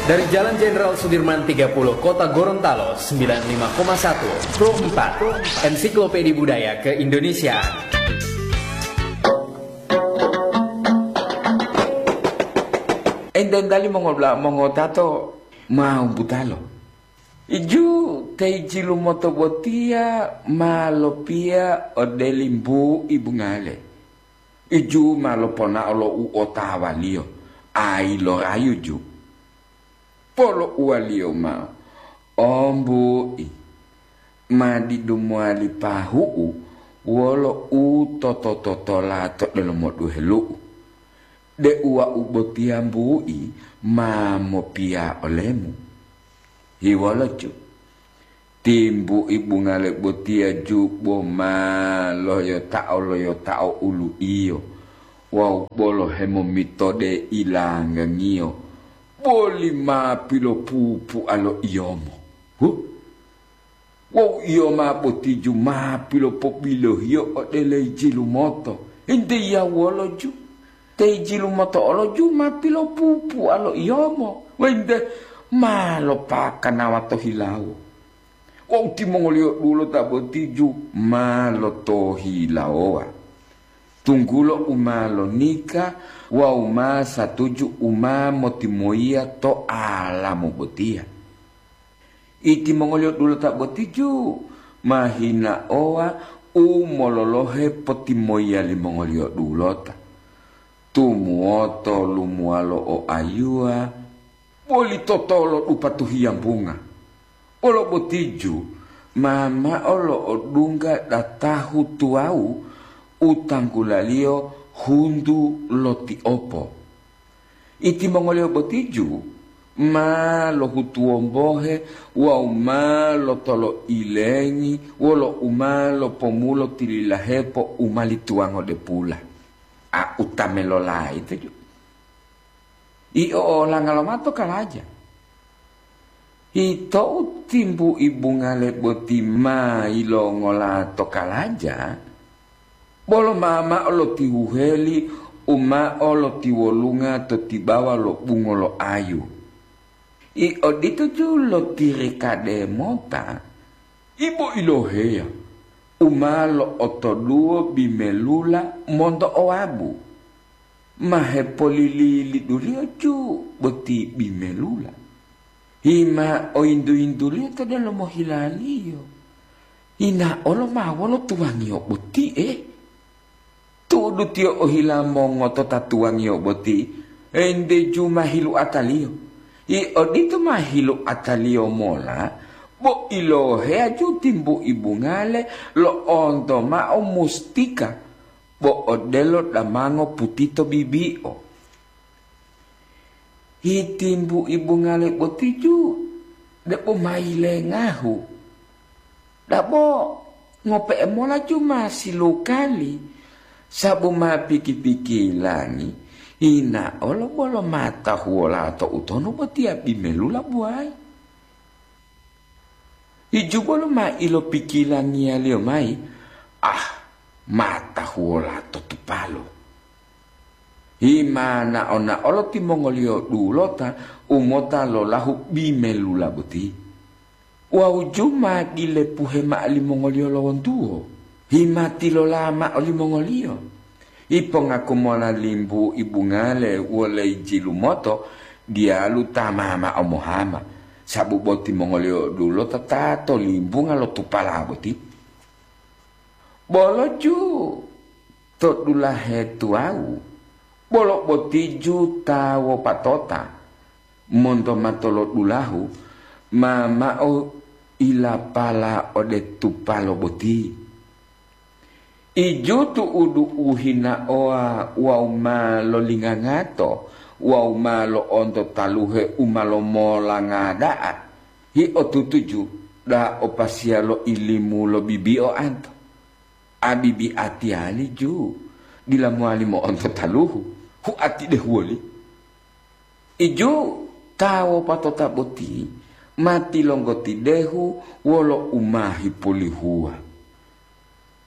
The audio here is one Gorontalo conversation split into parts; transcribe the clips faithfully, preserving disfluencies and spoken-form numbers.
Dari Jalan Jenderal Sudirman tiga puluh, Kota Gorontalo, sembilan lima koma satu, Pro empat, Ensiklopedia Budaya Keindonesiaan. Ente-entali mongola-, mongotato mau butalo. Iju te jilumoto botiya ma lopiya ode limbu'i bungale. Iju ma loponao lo u otawaliyo, ayi lorayu ju. Polo'uwaliyo mao, "O mbu'i, ma didu mowali pahu'u wolo u toto-totola to delomo duhelu'u, deu wau botiya mbu'i ma mopiya olemu." Hiwolo ju, timbu'i bungale botiya ju bo ma loyotao-loyotao ulu'iyo wawu bolo hemomitode ilanggangiyo, boli ma pilopupu'a lo iyomo. Huh! Wawu iyoma boti ju ma pilopobilohiyo ode le jilumoto. Entiya wolo ju? Te jilumoto olo ju ma pilopupu'a lo iyomo, wente ma lopakanawa to hilawo. Wawu timongoliyo dulota boti ju ma lotohilawowa, tunggulo u ma lonika wawu ma satuju u ma motimoyiya to alamu botiya. Itimongoliyo dulota boti ju ma hinaowa u mololohe potimoyiya limongoliyo dulota. Tumuwoto lumuwalo o ayuwa, boli totolo dupatu hiyambunga. Wolo boti ju ma mao lo'odungga datahu tuwawu u tanggulaliyo huntu lo tiopo. Itimongoliyo boti ju ma lohutuwombohe wawu ma lotoloilengi wolo u ma lopomulo tililahepo u mali tuwango depula. A uta melolayi to ju. Io olanga lomato kalaja. Ito u timbu'i bungale boti ma yilongola to kalaja, bolo ma mao lotihuheli u mao lotiwolunga to tibawa lo bungo lo ayu. I odito ju lotirikade mota, ibo iloheya u ma lo'otoduwo bimelula monto owabu. Ma hepolili-liduliyo ju boti bimelula. Hima oyintu-yintuliyo to delomo hilaliyo. Hina olo ma wolo tuwangiyo boti'e. Tu'udu tiyo ohila mongotota tuwangiyo boti, ente ju ma hiluataliyo. I odito ma hiluataliyo mola, bo iloheya ju timbu'i bungale lo'onto mao mustika, bo odelo damango putito bibi'o. Hitimbu'i bungale boti ju debo ma yilengahu. Dabo ngope'e mola ju ma silukali, sabu ma piki-pikilangi, hina olo bolo ma tahuwola to utonu botiya bimelula buwayi. Ijubolo ma ilopikilangiyaliyo mayi, ah, matahuwola to tupalo. Hima nao-naolo timongoliyo dulota u mota lolahu bimelula boti. Wawu ju ma dilepuhe mao limongoliyo lo wontuwo, hima tilola mao limongoliyo. Ipongaku mola limbu ibungale wole jilumoto diyalu ta ma mao mohama, sabu boti mongoliyo dulota ta to limbunga lo tupala boti. Bolo ju to dulahe tuwawu, bolo boti ju ta wopatota monto matolodulahu ma mao ilapala ode tupalo boti. Iju tu'udu u hinaowa wawu ma lolingangato wawu ma lo'onto taluhe u ma lomola ngada'a, hiotutuju da'a o pasiya lo ilimu lo bibi'o anto. Abi biatiyali ju dila mowali mo'onto taluhu, huati dehuwoli. Iju ta wopatota boti ma tilonggoti dehu wolo u ma hipolihuwa.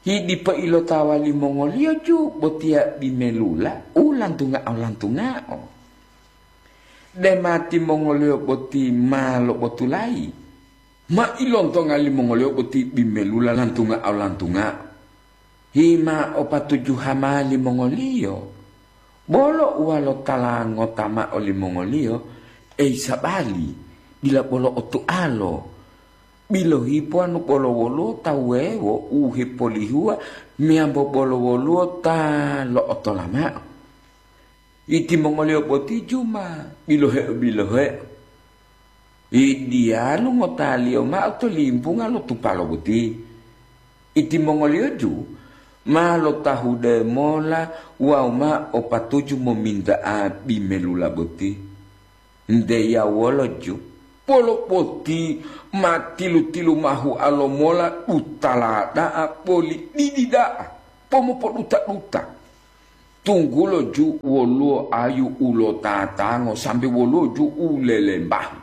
Hidipo ilotawa limongoliyo ju botiya bimelula u lantungao-lantungao. Dema timongoliyo boti ma lobotulayi, ma ilontonga limongoliyo boti bimelula lantunga-lantunga. Hima o patuju hama limongoliyo, bolo uwalo tala ngota ma'o limongoliyo, ei sabali, dila bolo otu'alo. Bilohi powanu bolo woluwo ta wuwewo u hepolihuwa meyambo bolo woluwo ta lo'otola ma'o. Itimongoliyo boti juma biloheo-biloheo. Idiyalu ngotaliyo ma'o to limpunga lo tupalo boti. Itimongoliyo ju ma lotahude mola wawu ma o patuju mominta'a bimelula boti. Nte yawolo ju, bolo boti ma tilu-tilu mahualo mola dutala da'a boli didi da'a, pomopoduta-duta. Tunggulo ju woluwo ayu u lotatango sambe woluwo ju u lelembahu.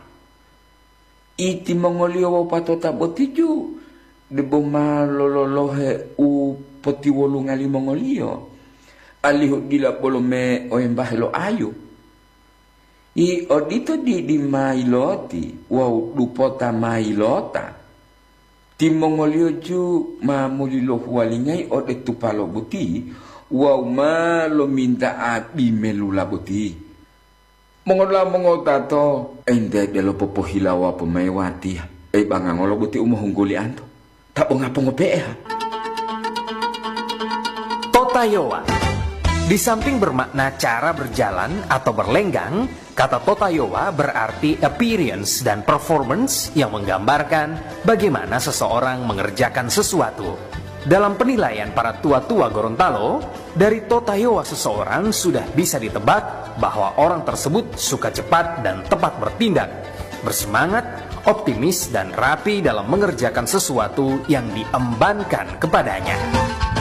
Itimongoliyo wopatota boti ju debo ma lololohe u potiwolunga limongoliyo, alihu dila bolo me oyembahe lo ayu. I odito didi ma yiloti wawu dupota ma yilota. Timongoliyo ju ma muli lohuwalingayi ode tupalo boti wawu ma lominta'a bimelula boti. Mongola mongotato, ente delo popohilawa pomayi watiya, ei bangangolo boti u mohungguli anto? Ta bonga pongope'e ha? Totayowa. Di samping bermakna cara berjalan atau berlenggang, kata totayowa berarti appearance dan performance yang menggambarkan bagaimana seseorang mengerjakan sesuatu. Dalam penilaian para tua-tua Gorontalo, dari totayowa seseorang sudah bisa ditebak bahwa orang tersebut suka cepat dan tepat bertindak, bersemangat, optimis, dan rapi dalam mengerjakan sesuatu yang diembankan kepadanya.